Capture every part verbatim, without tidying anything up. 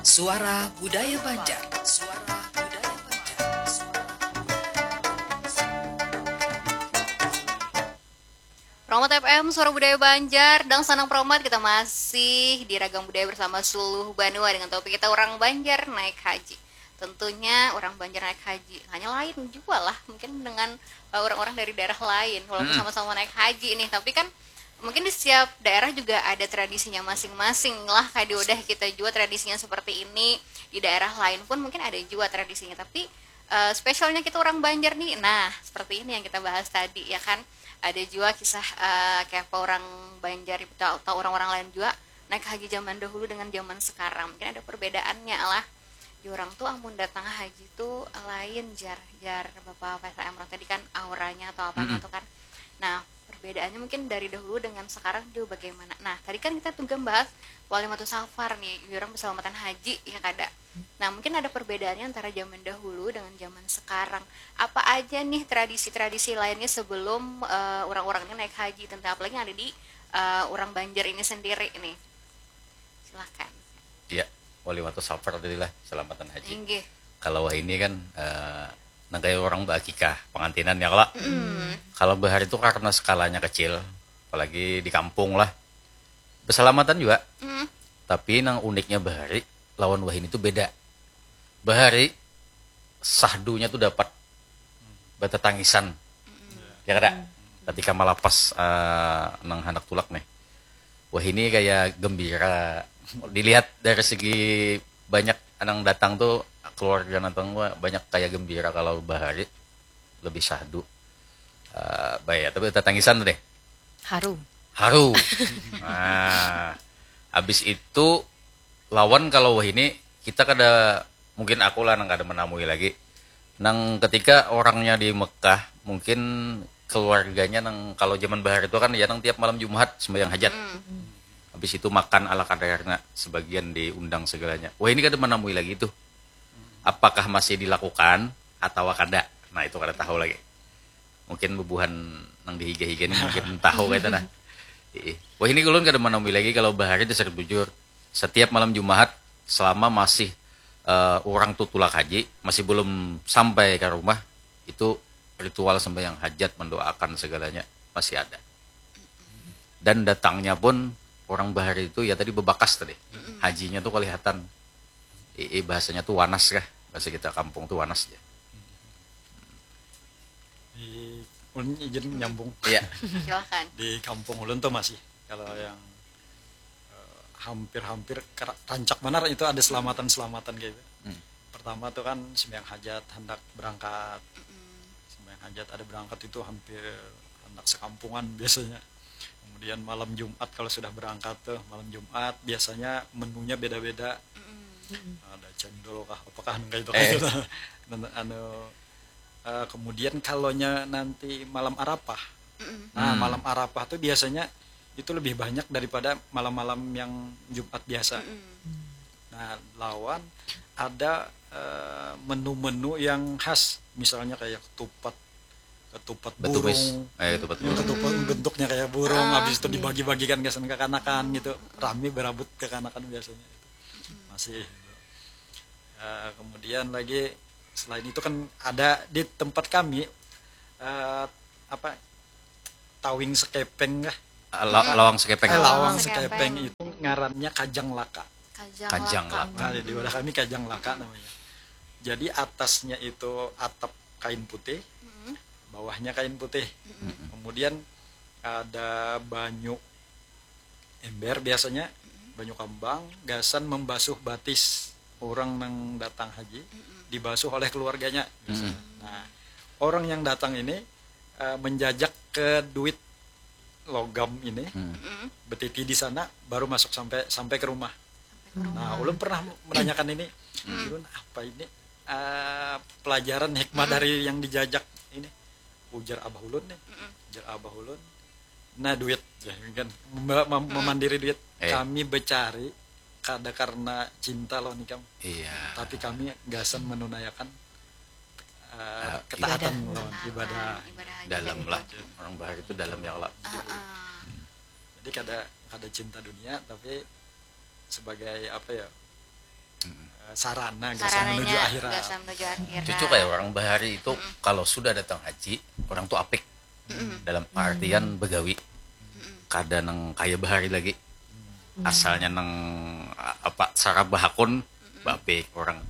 Suara Budaya Banjar. Suara Budaya Banjar. Promat F M, Suara Budaya Banjar, dan Sanang Promat, kita masih di Ragam Budaya bersama Suluh Banua dengan topik kita orang Banjar naik haji. Tentunya orang Banjar naik haji, hanya lain juga lah mungkin dengan eh, orang-orang dari daerah lain, walaupun sama-sama naik haji nih, tapi kan mungkin di setiap daerah juga ada tradisinya masing-masing lah, kayak di udah kita juga tradisinya seperti ini, di daerah lain pun mungkin ada juga tradisinya, tapi eh, spesialnya kita orang Banjar nih, nah seperti ini yang kita bahas tadi ya kan, ada juga kisah eh, kayak apa orang Banjar atau, atau orang-orang lain juga naik haji zaman dahulu dengan zaman sekarang, mungkin ada perbedaannya lah. Di orang tuh amun datang haji tuh lain jar jar bapak P S M orang tadi kan auranya atau apanya tuh kan. Nah, perbedaannya mungkin dari dahulu dengan sekarang juga bagaimana. Nah, tadi kan kita juga bahas walimatus safar nih, orang berselamatan haji ya kada. Nah, mungkin ada perbedaannya antara zaman dahulu dengan zaman sekarang. Apa aja nih tradisi-tradisi lainnya sebelum eh, orang-orang ini naik haji, tentang apalagi yang ada di eh, orang Banjar ini sendiri nih. Silakan. Ya, walimatus safar tadi lah, selamatan haji. Inggih. Kalau wahini kan eh, nang kayak orang baakikah, pengantinan ya kalo. Kalau bahari itu karena skalanya kecil, apalagi di kampung lah. Berselamatan juga. Tapi nang uniknya bahari lawan wahini itu beda. Bahari sahdunya tuh dapat batatangisan. Ya kada? Ketika malapas eh, nang handak tulak nih. Wahini kayak gembira. Dilihat dari segi banyak nang datang tuh keluarga nang datang wah, banyak kayak gembira kalau bahari lebih sahdu. Eh, baik, tapi tatangisan tuh deh. Haru. Haru. Nah, habis itu lawan kalau wahini kita kada, mungkin aku lah nang kada menamui lagi. Nang ketika orangnya di Mekah, mungkin keluarganya nang kalau zaman bahari itu kan ya nang tiap malam Jumat sembahyang hajat. Habis itu makan ala kadarnya, sebagian diundang segalanya. Wahini kada menamui lagi tuh. Apakah masih dilakukan atau kada? Nah, itu kada tahu lagi. Mungkin bubuhan nang dihiga-higa ini mungkin tahu kayak itu nah. Ih. Wahini ulun kada menamui lagi kalau bahari dasar bujur. Setiap malam Jumat selama masih eh, orang tuh tulak haji, masih belum sampai ke rumah, itu ritual sembahyang hajat, mendoakan segalanya masih ada. Dan datangnya pun orang bahari itu ya tadi bebakas tadi. Hajinya tuh kelihatan. Ii bahasanya tuh wanas kah? Bahasa kita kampung tuh wanas ya. Di ulun izin nyambung. Iya. Silakan. Di kampung ulun tuh masih kalau yang eh, hampir-hampir kera- rancak banar itu ada selamatan-selamatan kayak gitu. Pertama tuh kan sembahyang hajat hendak berangkat. Sembahyang hajat ada berangkat itu hampir hendak sekampungan biasanya. Kemudian malam Jumat kalau sudah berangkat tuh malam Jumat biasanya menunya beda-beda. Ada cendol kah, apakah kayak itu Eh. kayak gitu. Dan anu eh, kemudian kalaunya nanti malam Arafah. Nah, malam Arafah tuh biasanya itu lebih banyak daripada malam-malam yang Jumat biasa. Nah, lawan ada eh, menu-menu yang khas, misalnya kayak ketupat, ketupat Betumis. burung, Eh, ketupat burung. ketupat bentuknya kayak burung, habis itu dibagi-bagikan gasan kekanakan gitu, rame berabut kekanakan biasanya itu masih. Eh, kemudian lagi selain itu kan ada di tempat kami eh, apa tawing sekepeng kah? La- lawang sekepeng. Eh, lawang Sekepeng. sekepeng itu ngarannya kajang laka. Kajang, Kajang lakang. laka. Nah, di daerah kami kajang laka namanya. Jadi atasnya itu atap kain putih, bawahnya kain putih. Kemudian ada banyu ember biasanya, banyu kambang, gasan membasuh batis orang nang datang haji, dibasuh oleh keluarganya. Nah, orang yang datang ini eh, menjajak ke duit logam ini, betiti di sana, baru masuk sampai sampai ke rumah. Nah, ulun pernah menanyakan ini, ulun apa ini eh, pelajaran hikmah dari yang dijajak ini? Ujar abah ulun nih, ujar abah ulun, nah duit ya kan mem- mem- memandiri duit. Eh. Kami becari kada karena cinta lawan ikam, Iya. tapi kami gasan menunaikan eh, Ah, ketaatan Ibadah. lawan ibadah. Ibadah haji Dalam tadi lah. itu. Orang bahari itu dalam ya lah. Heeh. Jadi kada kada cinta dunia, tapi sebagai apa ya, Sarana gasan menuju akhirat. Gasan menuju akhirat. Cucu kayak orang bahari itu kalau sudah datang haji, orang tuh apik. Dalam artian begawi. Kada nang kaya bahari lagi. Asalnya nang apa sarabahakun, bapik orang.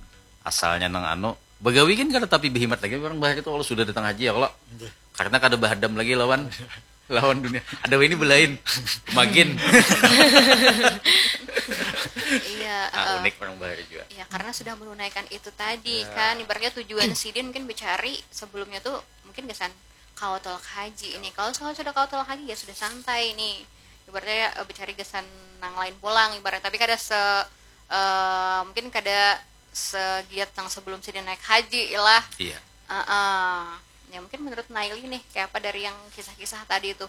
Asalnya nang anu, begawi kan kada tapi behimat lagi orang bahari itu kalau sudah datang haji ya kalau. Karena kada bahadam lagi lawan lawan dunia. Ada ini belain. Magin. Iya, ah, uh, unik orang bahari juga. Iya, karena sudah menunaikan itu tadi ya. Kan ibaratnya tujuan sidin mungkin mencari sebelumnya tuh mungkin kesan kalau tolak haji ini. Kalau sudah kalau tolak haji ya sudah santai nih. Ibaratnya uh, mencari kesan nang lain pulang ibarat tapi kada se uh, mungkin kada segiat yang sebelum sidin naik haji lah. Iya. Uh, uh. Ya mungkin menurut Naili nih kayak apa dari yang kisah-kisah tadi itu?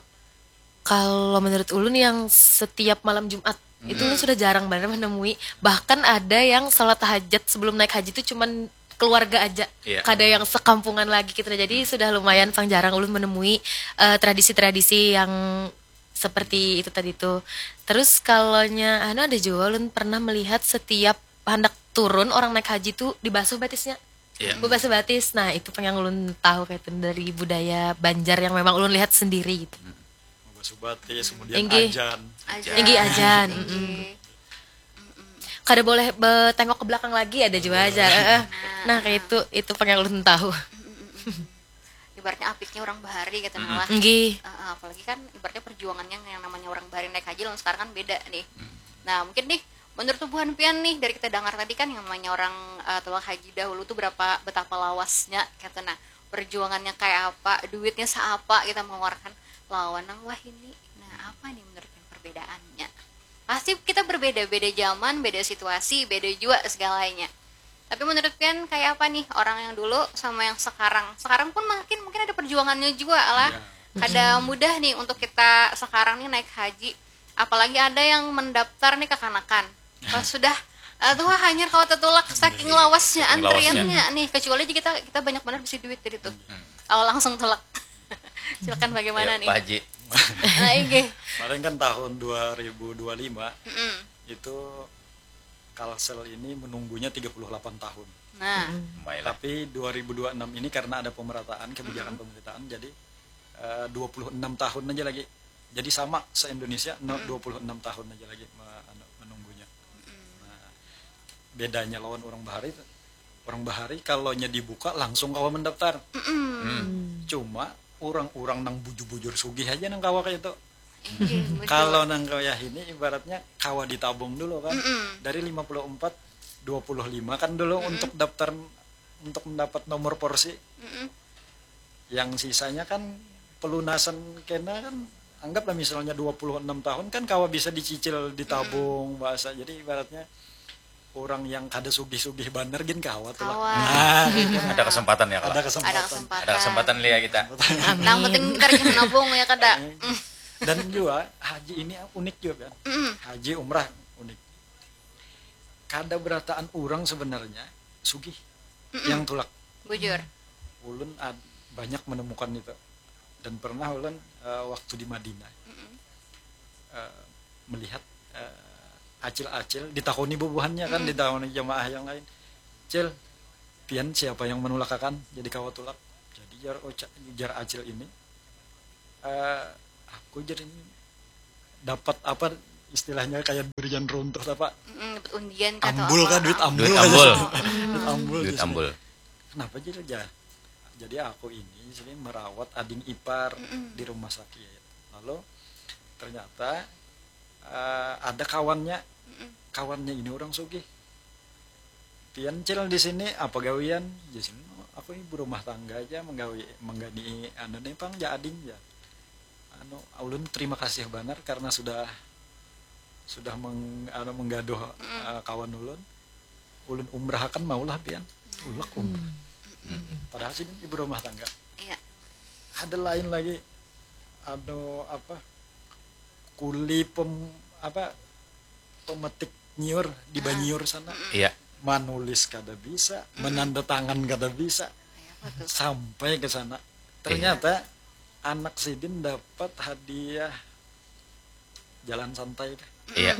Kalau menurut ulun yang setiap malam Jumat hmm. Itu ulun sudah jarang banget menemui. Bahkan ada yang salat tahajud sebelum naik haji itu cuman keluarga aja. Iya. Kada yang sekampungan lagi gitu. Jadi hmm. Sudah lumayan pang jarang ulun menemui uh, tradisi-tradisi yang seperti itu tadi tuh. Terus kalaunya anu ada juga ulun pernah melihat setiap hendak turun orang naik haji tuh dibasuh batisnya. Iya. Bebas batis. Nah, itu yang ulun tahu kayak itu dari budaya Banjar yang memang ulun lihat sendiri gitu. Bebas batis, kemudian Inggih. Ajan. Ajan. Inggih ajan. Inggih. Kada boleh tengok ke belakang lagi ada juga aja. Nah, kayak itu itu yang ulun tahu. Ibaratnya apiknya orang bahari gitu nah lah. Inggih. Uh, apalagi kan ibaratnya perjuangannya yang namanya orang bahari naik haji lawan sekarang kan beda nih. Nah, mungkin nih menurut tubuhan pian nih dari kita dengar tadi kan yang namanya orang uh, tolak haji dahulu tuh berapa betapa lawasnya gitu nah perjuangannya kayak apa duitnya seapa kita mengeluarkan lawan nang wahini nah apa nih menurut pian perbedaannya pasti kita berbeda beda zaman beda situasi beda juga segalanya tapi menurut pian kayak apa nih orang yang dulu sama yang sekarang sekarang pun makin mungkin ada perjuangannya juga lah ya. Kada mudah nih untuk kita sekarang nih naik haji apalagi ada yang mendaftar nih kekanakan pas sudah uh, tuh hanyar kalau tetulak saking lawasnya antriannya nih kecuali aja kita kita banyak benar bisi duit dari tuh oh langsung tulak silakan bagaimana nih Pak Haji nah, iya. Paling kan tahun dua ribu dua puluh lima mm -mm. Itu Kalsel ini menunggunya tiga puluh delapan tahun. Nah. Tapi dua ribu dua puluh enam ini karena ada pemerataan kebijakan mm -hmm. pemerataan jadi uh, dua puluh enam tahun aja lagi. Jadi sama se-Indonesia no, mm -hmm. dua puluh enam tahun aja lagi anu, menunggunya. Mm -hmm. Nah, bedanya lawan orang bahari orang bahari kalau nya dibuka langsung kawa mendaftar. Mm -hmm. hmm. Cuma orang-orang nang bujur-bujur sugih aja nang kawa kayak itu. Iya, kalau nang kaya ini ibaratnya kawa ditabung dulu kan. Mm -mm. Dari lima puluh empat, dua puluh lima kan dulu mm -mm. Untuk daftar untuk mendapat nomor porsi. Mm -mm. Yang sisanya kan pelunasan kena kan anggaplah misalnya dua puluh enam tahun kan kawa bisa dicicil ditabung mm -mm. Bahasa. Jadi ibaratnya orang yang kada sugih-sugih banar gin kawa tuh lah. Nah, gitu. Ada kesempatan ya kalau. Ada kesempatan. Ada kesempatan. Ada kesempatan lihat kita. Nang penting kita rajin nabung ya kada. Dan juga haji ini unik juga kan. Mm. Haji umrah unik. Kada berataan orang sebenarnya sugih mm -mm. Yang tulak. Bujur. Ulun banyak menemukan itu. Dan pernah ulun uh, waktu di Madinah. Mm -mm. Uh, melihat uh, acil-acil ditakoni bubuhannya kan hmm. Ditakoni jamaah yang lain cil pian siapa yang menulakakan jadi kawa tulak jadi jar ucap jar acil ini uh, aku jar ini dapat apa istilahnya kayak durian runtuh apa mm, dapat undian kata ambul kah duit ambul duit ambul duit ambul, duit ambul. Kenapa jadi jar jadi aku ini sini merawat ading ipar mm -mm. Di rumah sakit lalu ternyata uh, ada kawannya mm -mm. Kawannya ini orang sugih pian cil di sini apa gawian di sini aku ibu rumah tangga aja menggawi menggani anu nih pang ya ading ya anu ulun terima kasih banget karena sudah sudah meng, anu, menggaduh mm. uh, kawan ulun ulun umrah akan maulah pian ulak umrah mm. Padahal sih ibu rumah tangga iya. Ada lain lagi anu apa kuli pem apa pemetik nyiur di Banyiur sana. Iya. Manulis kada bisa, menanda tangan kada bisa. Sampai ke sana. Ternyata anak sidin dapat hadiah jalan santai kah? Iya.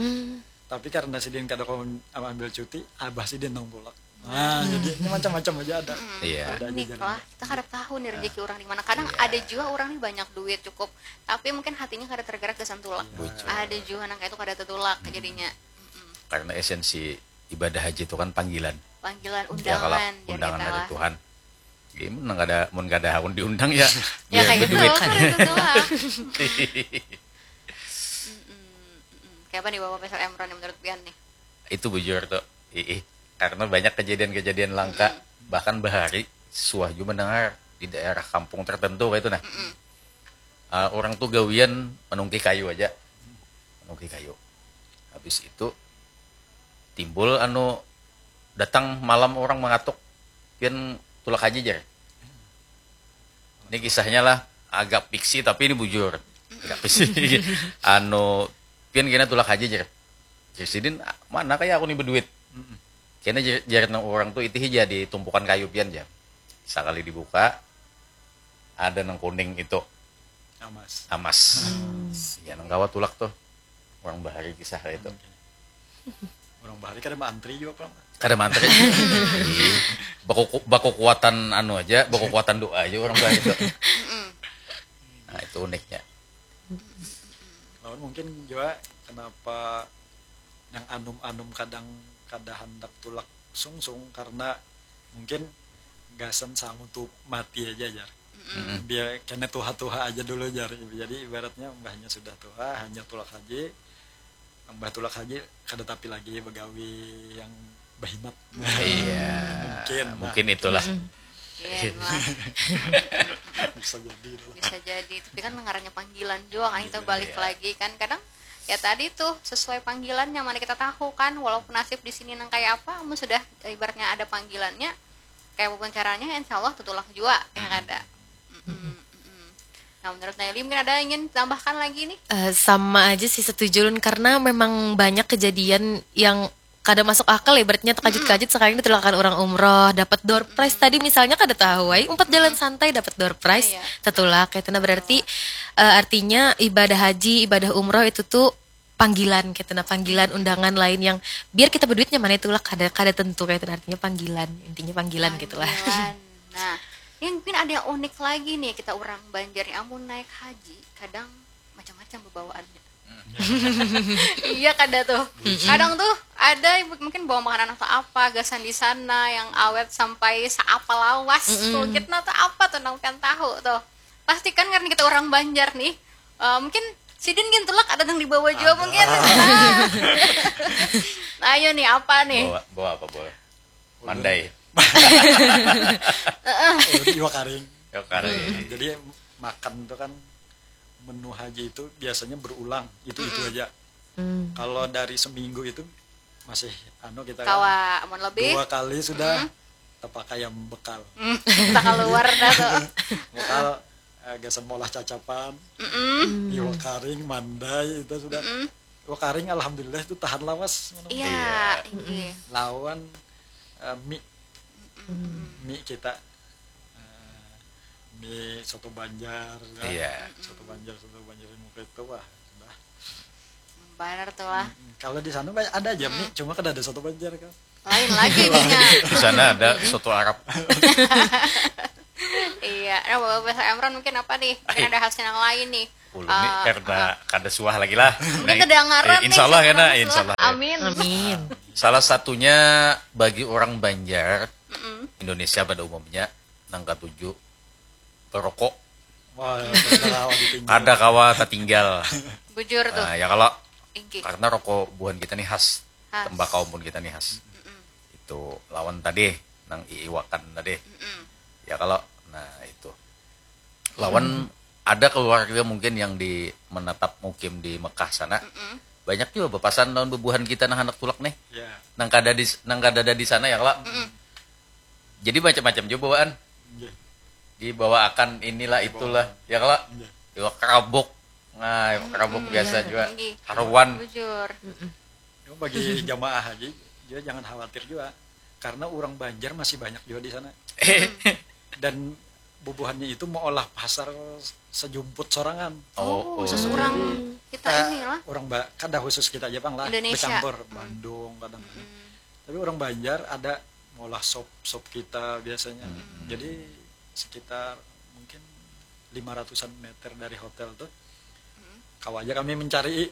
Tapi karena sidin kada kawa ambil cuti, abah sidin nang tulak. Nah, jadi ini macam-macam aja ada. Iya. Ada aja Unik jalan. Lah, kita kada tahu nih rezeki orang di mana. Kadang ada juga orang nih banyak duit cukup, tapi mungkin hatinya kada tergerak gasan tulak. Bujur. Ada juga nang kayak itu kada tertulak jadinya. Mm-mm. Karena esensi ibadah haji itu kan panggilan. Panggilan Ya, kalau undangan, jar undangan kita dari lah. Tuhan. Jadi mun kada mun kada hakun diundang ya. Ya biar kayak gitu berduit. Kan itu lah. Mm-mm, mm-mm. Kayak apa nih Bapak Faisal Emron yang menurut pian nih? Itu bujur tuh. Ih, karena banyak kejadian-kejadian langka, bahkan bahari suah juga mendengar di daerah kampung tertentu kayak itu nah. Ah, orang tuh gawian menungki kayu aja. Menungki kayu. Habis itu timbul anu datang malam orang mengatuk. Pian tulak haji jar. Ini kisahnya lah agak fiksi tapi ini bujur. Agak fiksi. Anu pian kena tulak haji jar. Jar sidin, mana kayak aku nih berduit. Kena jar, jar nang orang tuh itu hija di tumpukan kayu pian jar. Sekali dibuka ada nang kuning itu Amas. Amas. Ya nang kawa tulak tuh. Orang bahari kisah itu. Orang bahari kada maantri juga apa? Kada mantri. Ih, baku baku kuatan anu aja, baku kuatan doa aja orang bahari itu. Nah, itu uniknya. Lawan mungkin juga kenapa yang anum-anum kadang kada handak tulak sungsung karena mungkin gasan sangu tuh mati aja jar. Biar kena tuha-tuha aja dulu jar. Jadi ibaratnya mbahnya sudah tuha hanya tulak haji, mbah tulak haji kada tapi lagi begawi yang behimat. Iya. Mungkin, nah. Mungkin itulah. Iya lah. Bisa jadi lah. Bisa jadi, tapi kan ngarannya panggilan juga kan kita balik lagi kan kadang ya tadi tuh sesuai panggilan yang mana kita tahu kan walaupun nasib di sini nang kayak apa, mun sudah ibaratnya ada panggilannya kayak apapun caranya insya Allah tutulak juga ya kada. Mm-mm, mm-mm. Nah menurut Naili mungkin ada ingin tambahkan lagi nih? Eh, sama aja sih setuju Lun karena memang banyak kejadian yang kada masuk akal ya ibaratnya terkajut-kajut sekali ditulakan orang umroh dapat door prize tadi misalnya kada tahu ay umpat jalan santai dapat door prize Iya. Tetulak kayak itu nah berarti eh, artinya ibadah haji ibadah umroh itu tuh panggilan kayak itu nah panggilan undangan lain yang biar kita berduitnya mana itu lah kada kada tentu kayak itu nah. Artinya panggilan intinya panggilan gitulah Panggilan. Nah, ini mungkin ada yang unik lagi nih kita orang Banjar nih amun naik haji kadang macam-macam bawaannya. Iya kada tuh. Kadang tuh ada yang mungkin bawa makanan atau apa gasan di sana yang awet sampai seapa lawas. Tuh kita tuh apa tuh nang pian tahu tuh. Pasti kan karena kita orang Banjar nih. Eh, mungkin sidin gin tulak ada nang dibawa juga mungkin. Nah, ayo nih apa nih? Bawa bawa apa bawa? Mandai. Iwak karing. Ya kali. Jadi makan tuh kan menu haji itu biasanya berulang itu itu aja. Kalau dari seminggu itu masih anu kita kan Kawa amun lebih dua kali sudah terpakai yang bekal. kita keluar dah tuh. Bekal eh, gasan molah cacapan, iwak karing, mandai itu sudah. Iwak karing alhamdulillah itu tahan lawas. Iya, iya. Lawan eh, mie, mie kita eh, mie soto Banjar, kan? Iya. Soto Banjar, soto Banjar yang muka itu wah sudah. Benar tuh lah. Kalau di sana banyak ada aja mie, cuma kada ada soto Banjar kan. Lain lagi nih. Di sana ada soto Arab. Iya, nah, Bapak Profesor Emron mungkin apa nih? Mungkin ada hasil yang lain nih. Ulun nih karena kada suah lagi lah. Mungkin terdengaran Eh, insya Allah ya nah, insya Allah. Amin. Amin. Salah satunya bagi orang Banjar Indonesia pada umumnya nang katuju perokok Wah, terlalu ditinggal. kada kawa tertinggal. Bujur tuh. Nah, ya kalau Inggi. Karena rokok buhan kita nih khas, Khas. tembakau pun kita nih khas. Itu lawan tadi nang iiwakan tadi. Ya kalau nah itu. Lawan ada keluarga mungkin yang di menetap mukim di Mekah sana. Banyak juga bepasan lawan bebuhan kita nang handak tulak nih. Ya. Nang kada di nang kada ada di sana ya kalau. Jadi macam-macam juga bawaan. Nggih. Dibawaakan inilah itulah ya kalau. Nggih. Iwak kerabuk. Nah, iwak kerabuk biasa juga. Inggi. Haruan. Bujur. Cuma bagi jamaah haji, juga jangan khawatir juga. Karena orang Banjar masih banyak juga di sana. Dan bubuhannya itu mengolah pasar sejumput sorangan. Oh, khusus orang kita Ka- inilah. Orang ba- kada khusus kita aja pang lah, Indonesia. Bercampur, Bandung kadang. Tapi orang Banjar ada maulah sop sop kita biasanya. Jadi sekitar mungkin lima ratusan meter dari hotel tuh, kawa aja kami mencari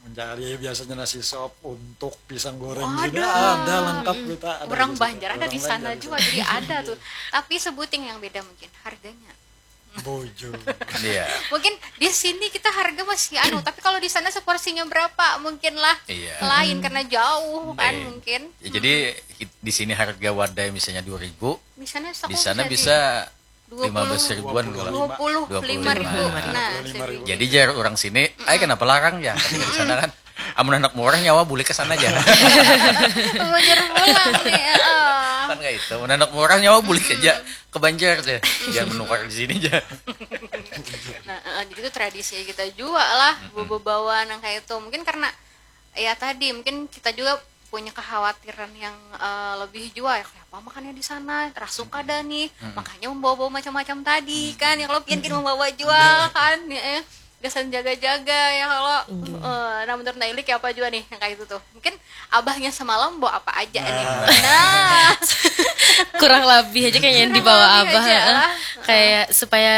mencari biasanya nasi sop, untuk pisang goreng juga ada lengkap kita. Ada Orang juga. Banjar ada Orang di sana Banjar juga, jadi ada tuh. Tapi sebuting yang beda mungkin harganya. Bojo. Iya. Mungkin di sini kita harga masih anu, tapi kalau di sana seporsinya berapa mungkin lah Iya. Lain karena jauh kan Iya. Mungkin. Ya, jadi di sini harga wadai misalnya dua ribu, Di sana sok di sana jadi bisa dua puluh, lima belas ribuan kalau. dua puluh lima ribu. Nah, Dua puluh lima ribu. Jadi jar orang sini, ay kenapa larang ya? Kata di sana kan, amun anak murah nyawa bulik ke sana aja. Belajar pulang nih. Oh. Kan kayak itu, amun anak murah nyawa bulik aja ke Banjar aja. Jangan menukar di sini aja. Nah, eh, jadi itu tradisi kita juga lah, bawa-bawa nang kayak itu. Mungkin karena ya tadi mungkin kita juga punya kekhawatiran yang eh, lebih juga ya kayak apa makannya di sana, rasuk kada nih, makanya membawa-bawa macam-macam tadi kan ya kalau pian gin membawa jual kan ya eh. Gasan jaga-jaga ya kalau eh, nah menurut Naili kayak apa juga nih yang kayak itu tuh mungkin abahnya semalam bawa apa aja nih nah Kurang lebih aja kayaknya yang dibawa lebih abah aja heeh. Lah. Kayak supaya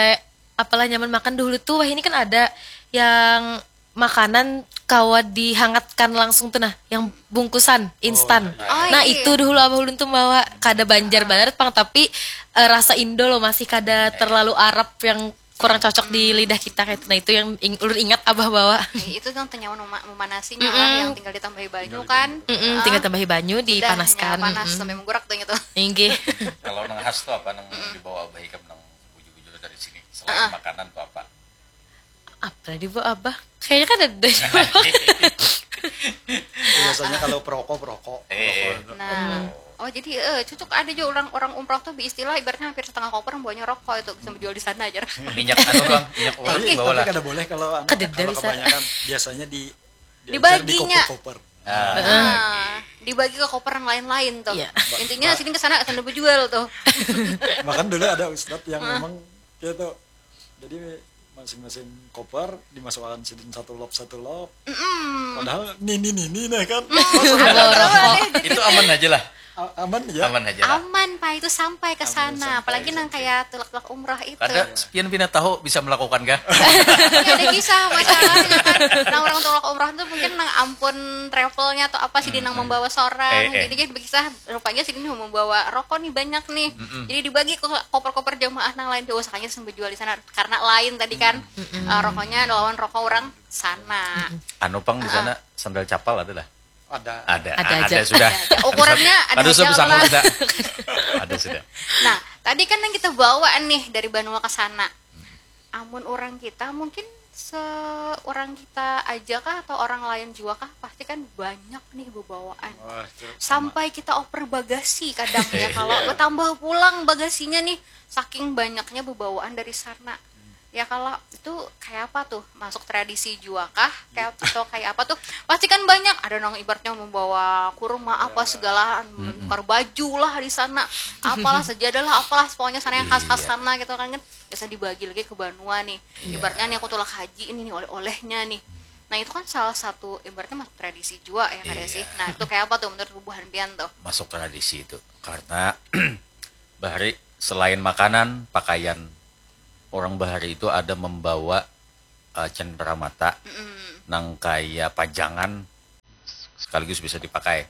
apalah nyaman makan dahulu tuh wah ini kan ada yang makanan kawa dihangatkan langsung tuh nah yang bungkusan instan Oh, nah iya. Itu dahulu abah ulun tuh bawa kada Banjar banget pang tapi eh, rasa Indo loh masih kada terlalu Arab yang kurang cocok di lidah kita kayak itu. Nah itu yang ing- ulun ingat abah bawa. Nih, itu yang tenyaman mema- memanasinya lah yang tinggal ditambahi banyu kan. Mm-mm, tinggal tambahi banyu Udah, dipanaskan. ya, panas Mm-mm. Sampai menggurak tuh gitu. Inggih. Kalau nang khas tuh apa nang dibawa abah ikam nang bujur-bujur dari sini selain makanan tuh apa? Apa tadi bu abah? Kayaknya kan ada deh. Biasanya kalau perokok perokok. Eh, Perokok. Nah, oh jadi eh, cocok ada juga orang orang umroh tuh istilah ibaratnya hampir setengah koper bawanya rokok itu bisa menjual di sana aja. Minyak anu bang, minyak uang Tapi, bawa tapi lah. Kada boleh kalau anu, Kada kalau bisa. Kebanyakan biasanya di diajar di Dibaginya. koper-koper. Ah, Nah, dibagi ke koper yang lain-lain tuh. Iya. Intinya sini ke sana sana berjual tuh. Bahkan dulu ada ustadz yang memang gitu. Jadi masing-masing koper dimasukkan sidin satu lop satu lop. Padahal nini nini nah kan. Itu aman aja lah. A- aman ya. Aman aja lah. Aman pak itu sampai ke sana, sampai, apalagi nang kayak tulak-tulak umroh itu. Kada sepian bina tahu bisa melakukan kah? Ini ada kisah masalahnya kan. Nah orang tulak umroh tuh mungkin nang ampun travelnya atau apa sih nang membawa seorang. Eh, eh. Jadi kan kisah rupanya sini membawa rokok nih banyak nih. Jadi dibagi ke koper-koper jamaah nang lain diusahakannya sambil jual di sana karena lain tadi kan eh, rokoknya ada lawan rokok orang sana. Anu pang di sana sandal capal ada lah. Ada. Ada. Ada Ah, aja. Ada sudah. Ukurannya ada Kada usah aja bersangkut lah. Ada. Ada sudah. Nah, tadi kan yang kita bawa nih dari Banua ke sana. Amun orang kita mungkin seorang kita aja kah atau orang lain juga kah pasti kan banyak nih bebawaan. Wah, itu Sampai kita oper bagasi kadang ya kalau bertambah pulang bagasinya nih saking banyaknya bebawaan dari sana. Ya kalau itu kayak apa tuh masuk tradisi juga kah kayak atau kayak apa tuh pasti kan banyak ada nang ibaratnya membawa kurma apa segala nukar baju lah di sana apalah sajadah lah apalah pokoknya sana yang khas-khas sana gitu kan kan biasa dibagi lagi ke banua nih ibaratnya nih aku tulak haji ini nih oleh-olehnya nih nah itu kan salah satu ibaratnya masuk tradisi juga ya kada sih nah itu kayak apa tuh menurut bubuhan pian tuh Masuk tradisi itu karena bahari selain makanan, pakaian orang bahari itu ada membawa uh, cenderamata nang kaya pajangan sekaligus bisa dipakai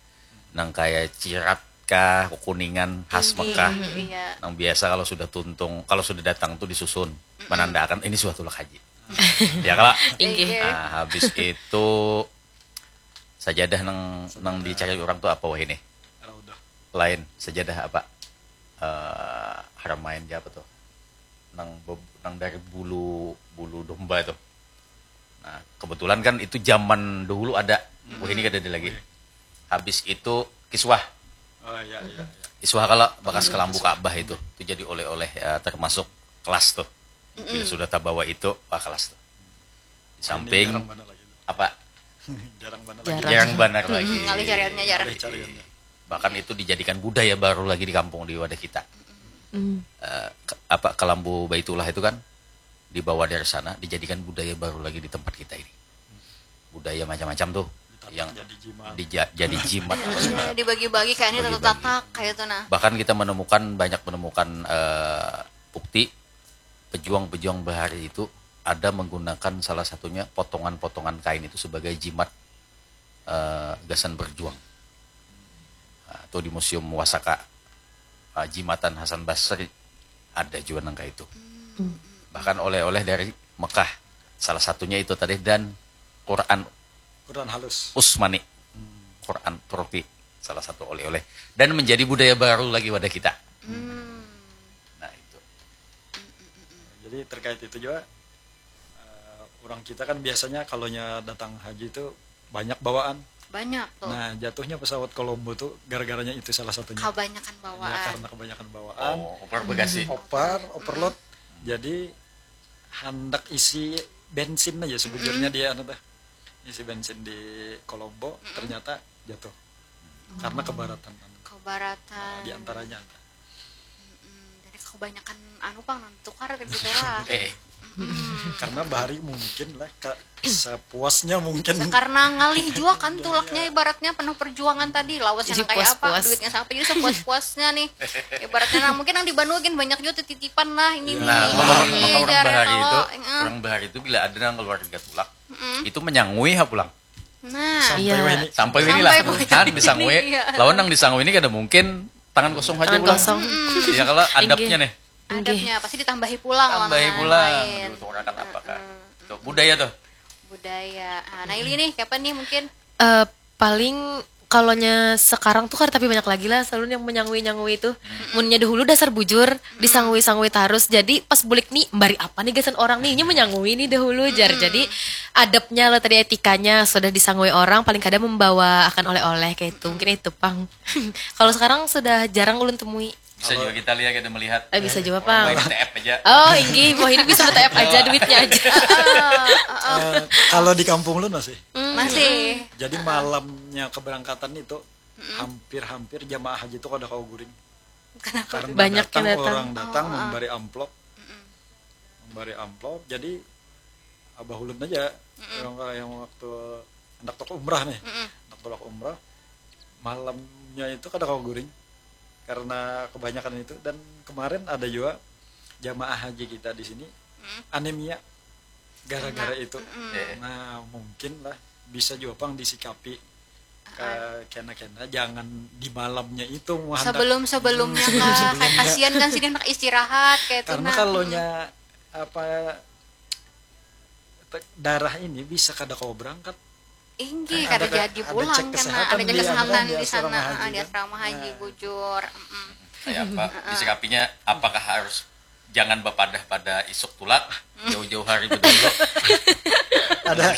nang kaya cirat kah kuningan khas Mekah iya nang biasa kalau sudah tuntung kalau sudah datang tuh disusun menandakan ini suatu tulak haji ya kalau Inggih. Nah, habis itu sajadah nang nang dicari orang tuh apa wah ini Raudah. Lain sajadah apa eh haramain ja apa tuh nang beb- nang dari bulu bulu domba itu nah kebetulan kan itu zaman dahulu ada wah ini kada ada lagi habis itu kiswah Oh iya iya. Iya. kiswah kalau bekas kelambu Ka'bah itu itu jadi oleh-oleh eh, termasuk kelas tuh bila sudah tabawa itu wah kelas tuh di samping Jarang benar lagi. Apa Jarang benar Jarang. lagi. jarang benar lagi ngalih cariannya jarang Cariannya. Bahkan itu dijadikan budaya baru lagi di kampung di wadah kita. Hmm. Eh, ke- apa kelambu Baitullah itu kan dibawa dari sana, dijadikan budaya baru lagi di tempat kita ini. Budaya macam-macam tuh yang jadi jimat. Dija- jadi jimat apa segala. Dibagi-bagi kayak ini Bagi-bagi. Tatak kayak itu nah. Bahkan kita menemukan, banyak menemukan eh, bukti pejuang-pejuang bahari itu ada menggunakan salah satunya potongan-potongan kain itu sebagai jimat eh, gasan berjuang. Nah, tuh di Museum Wasaka, eh, jimatan Hasan Basri ada juga nang kayak itu. Bahkan oleh-oleh dari Mekah, salah satunya itu tadi, dan Quran Quran halus. Usmani, Quran Turki, salah satu oleh-oleh, dan menjadi budaya baru lagi wadah kita. Nah, itu. Jadi terkait itu juga eh, orang kita kan biasanya kalau nya datang haji itu banyak bawaan. Banyak tuh. Nah, jatuhnya pesawat Colombo tuh gara-garanya itu salah satunya. Kebanyakan Ya, bawaan. Karena kebanyakan bawaan. Oh, over bagasi. Opar, overload. Jadi hendak isi bensin aja sebujurnya dia anu teh. Isi bensin di Colombo ternyata jatuh. Karena kebaratan anu. Kebaratan. Di antaranya ada. Hmm, jadi kebanyakan anu pang nang tukar kan gitu lah. Eh, Karena bahari mungkin lah ka, sepuasnya mungkin. Karena ngalih juga kan tulaknya ibaratnya penuh perjuangan tadi lawas Jadi yang kayak apa puas-puas. Duitnya siapa jadi sepuas-puasnya nih ibaratnya nah mungkin yang di Banua gin banyak juga titipan lah ini Nah, nih maka, ini maka orang jar bahari itu, kalau eh, orang bahari itu bila ada nang keluarga tulak, itu menyangui ha pulang. nah Sampai Iya. wah ini. Sampai ini Sampai lah. poin. Kan disangui. Iya. Lawan nang disangui ini kada mungkin tangan kosong aja Tangan pulang. kosong. Ya kalau adabnya nih. Adabnya pasti ditambahi pulang lawan Tambahi yang pulang. lain. Aduh, tuh orang kan apakah? Itu budaya tuh. Budaya. Nah, nah ini nih kapan nih mungkin Eh, paling kalonya sekarang tuh kada tapi banyak lagi lah selalu yang menyangui-nyangui itu. Munnya dahulu dasar bujur disangui-sangui tarus. Jadi pas bulik nih bari apa nih gasan orang nih, ini menyangui nih dahulu jar. Jadi adabnya lah tadi etikanya sudah disangui orang paling kada membawa akan oleh-oleh kayak itu. Mungkin itu pang. Kalau sekarang sudah jarang ulun temui. Bisa juga kita lihat, kita melihat. Eh, bisa juga Orang pang. main T F aja. Oh, inggih, mau ini bisa T F aja duitnya aja. Eh, kalau di kampung lu masih. masih Jadi malamnya keberangkatan itu hampir-hampir jamaah haji itu kada kawa guring. Karena Banyak datang, yang datang. Orang datang membari amplop, membari amplop. Jadi abah ulun aja orang yang waktu hendak tulak umrah nih, hendak tulak umrah malamnya itu kada kawa guring karena kebanyakan itu. Dan kemarin ada juga jamaah haji kita di sini anemia gara-gara itu. Eh, Nah, mungkin lah bisa juga pang disikapi ke kena-kena jangan di malamnya itu mah hendak- sebelum sebelumnya sebelum- kak sebelumnya. Kasihan kan sini nak istirahat kayak itu Karena nah. Kalau nya apa te- darah ini bisa kada kawa berangkat. Inggih, Ada kada ke- jadi ada pulang cek karena kesehatan ada di cek kesehatan anu, di di asrama sana, haji ah, di kan. asrama haji Nah. Bujur. Mm-mm. Kayak apa? Disikapinya apakah harus jangan bapadah pada isuk tulak jauh-jauh hari bedulu? Ada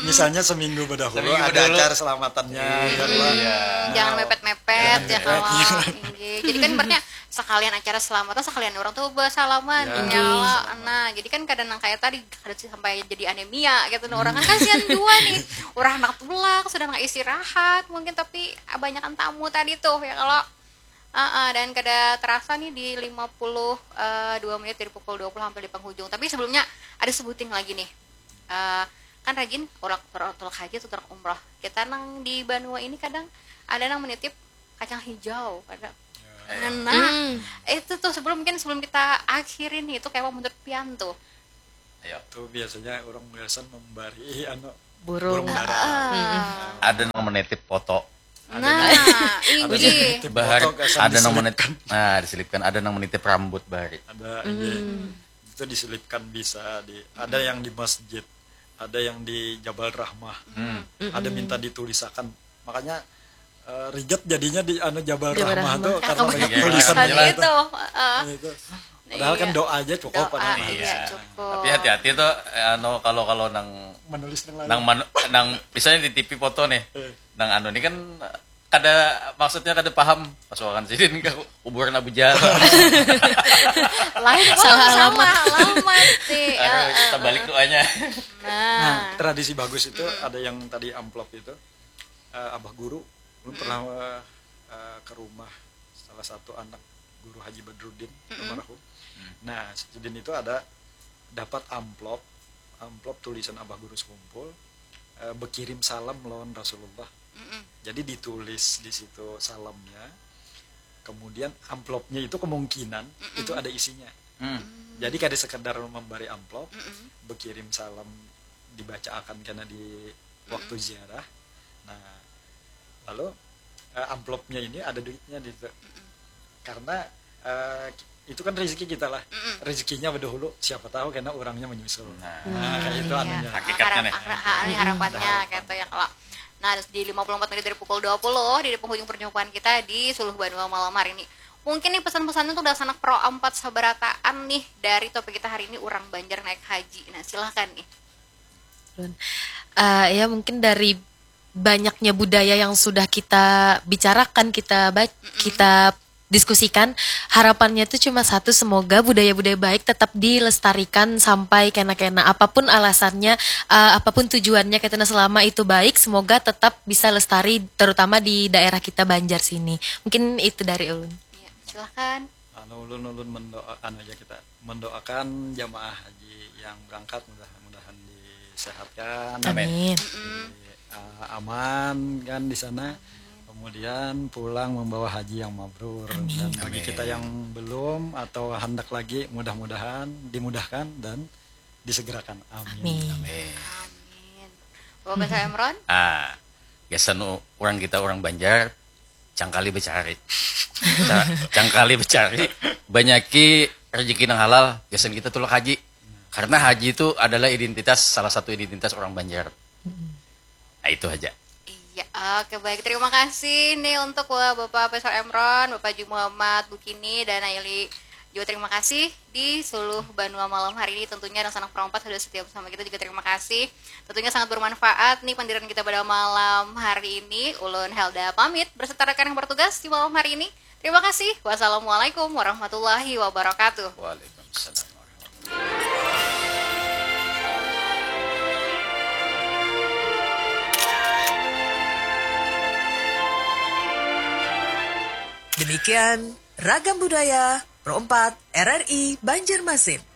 misalnya seminggu bedahulu Seminggu ada bedahulu. acara selamatan-nya ya lah. Iya. Jangan mepet-mepet ya kalau inggih. Jadi kan berarti sekalian acara selamatan sekalian orang tuh bersalaman Ya. nyala. Nah, jadi kan kada nang kayak tadi kada sih sampai jadi anemia gitu nah. Orang kan kasihan juga nih. Orang anak tulak sudah nggak istirahat mungkin tapi banyakan tamu tadi tuh ya kalau Heeh, dan kada terasa nih di lima puluh dua menit dari pukul dua puluh hampir di penghujung. Tapi sebelumnya ada sebuting lagi nih. Eh, kan rajin orang orang tulak haji atau tulak umroh. Kita nang di Banua ini kadang ada nang menitip kacang hijau, kadang. Nah, itu tuh sebelum mungkin sebelum kita akhirin nih itu kayak menurut pian tuh. Ayo. Itu biasanya orang biasa membari anu Burung. Burung dara. Ada nang menitip foto. Nah, inggih. Bahari Foto gasan ada nang menitip. Diselipkan. Nah, diselipkan ada nang menitip rambut bahari. Ada iya. Itu diselipkan bisa di ada yang di masjid, ada yang di Jabal Rahmah. Ada minta ditulisakan. Makanya eh, rigat jadinya di anu Jabal Jabal Rahmah Rahmah. tuh karena banyak Iya. tulisan Kan gitu. Itu, heeh. Itu. Padahal kan Iya. Doa aja cukup Doa, anak. iya, Iya. cukup. Tapi hati-hati tuh anu kalau kalau nang Menulis nang lain. nang manu, nang misalnya di T V foto nih. Eh. Nang anu ini kan kada maksudnya kada paham pasuakan sidin ke kuburan Abu Jahal. Lain Salah orang alamat. Salah alamat sih. Aduh, kita balik doanya. Nah, tradisi bagus itu ada yang tadi amplop itu eh, abah guru, ulun pernah eh, ke rumah salah satu anak guru Haji Badrudin almarhum. Nah, sidin itu ada dapat amplop, amplop tulisan Abah Guru Sekumpul, eh, bekirim salam lawan Rasulullah. Mm-mm. Jadi ditulis di situ salamnya, kemudian amplopnya itu kemungkinan itu ada isinya. Hmm. Jadi kada sekedar memberi amplop, Mm-mm. bekirim salam dibacaakan karena di waktu ziarah. Nah, lalu eh, amplopnya ini ada duitnya di situ. Karena eh, itu kan rezeki kita lah. Mm-mm. Rezekinya berdahulu, siapa tahu karena orangnya menyusul. Nah. Nah, kayak itu Iya. anunya. Hakikatnya nih. Harap- ha- ha- harapannya kayak itu ya kalau. Nah, di lima puluh empat menit dari pukul dua puluh di penghujung perjumpaan kita di Suluh Banua malam hari ini. Mungkin nih pesan-pesannya untuk dasar anak pro empat sabarataan nih dari topik kita hari ini, orang Banjar naik haji. Nah, silahkan nih. Ulun. Eh, ya, mungkin dari banyaknya budaya yang sudah kita bicarakan, kita ba- kita diskusikan, harapannya tuh cuma satu, semoga budaya-budaya baik tetap dilestarikan sampai kena-kena, apapun alasannya, eh, apapun tujuannya, kita selama itu baik, semoga tetap bisa lestari, terutama di daerah kita Banjar sini. Mungkin itu dari ulun. Iya, silahkan. Anu, ulun-ulun mendoakan aja kita, mendoakan jamaah haji yang berangkat, mudah-mudahan disehatkan, Amin. Amin. di, uh, aman kan di sana, kemudian pulang membawa haji yang mabrur. Dan bagi Amin. Kita yang belum atau hendak lagi, mudah-mudahan dimudahkan dan disegerakan. Amin. Amin. Eh, Amin. Bapak Imron? Ah, gasan u- orang kita orang Banjar, cangkali becari. Nah, cangkali becari, banyaki rezeki nang halal, gasan kita tulak haji. Karena haji itu adalah identitas, salah satu identitas orang Banjar. Nah, itu aja. Iya, oke, baik. Terima kasih nih untuk Bapak Faisal Imron, Bapak Haji Muhammad Bukini, dan Aili juga. Terima kasih di Suluh Banua malam hari ini. Tentunya anak-anak pro empat sudah setia bersama kita juga. Terima kasih. Tentunya sangat bermanfaat nih pandiran kita pada malam hari ini. Ulun Helda pamit beserta rekan yang bertugas di malam hari ini. Terima kasih. Wassalamualaikum warahmatullahi wabarakatuh. Waalaikumsalam warahmatullahi Demikian Ragam Budaya Pro empat R R I Banjarmasin.